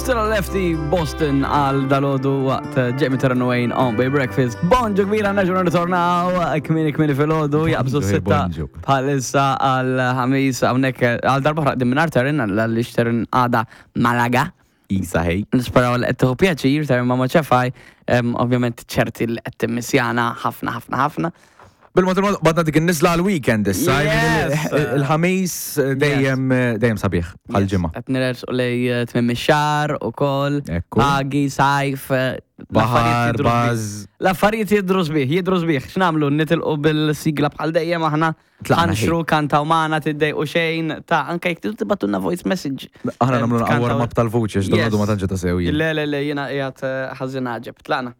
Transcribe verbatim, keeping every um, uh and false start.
Still a Lefty Boston għal dalgħodu waqt Jamie Terran Wayne on Bay Breakfast. Bonġu kbira, nerġgħu nirritornaw kmieni kmieni filgħodu, jaqbżu Bonġu, sitta bonġu. bħalissa għal ħamis hawnhekk għal darba oħra minn Terran, għaliex Terran għada Malaga. Isa ħej. Nisperaw li qed tieħu pjaċir Terran ma' ċefaj, ovvjament ċerti li qed timmissjana ħafna ħafna ħafna. Bil-mod il-mod, badna dik in-nizla għal-weekend issa. Yes. Il-ħamis dejjem dejjem sabiħ bħal-ġimgħa. Qed nersqu lejn eh, tmiem ix-xahar ukoll. Ekku. Pagi, sajf, eh, l-affarijiet Baħar, jidhru sbieħ. baż. L-affarijiet jidhru sbieħ, jidhru sbieħ. X'nagħmlu? Nitilqu bil-sigla bħal dejjem aħna. Tlaqna. Ħanxru, kantaw magħna, tiddejqu xejn, ta' anke jekk tridu tibgħatulna voice message. Aħna Eh, nagħmlu tkantaw- warm up tal-vuċi, Yes. x'don ma tantx ta' sew jien. Le, le, le, jiena qiegħed eh, ħażin għaġeb. Tlaqna.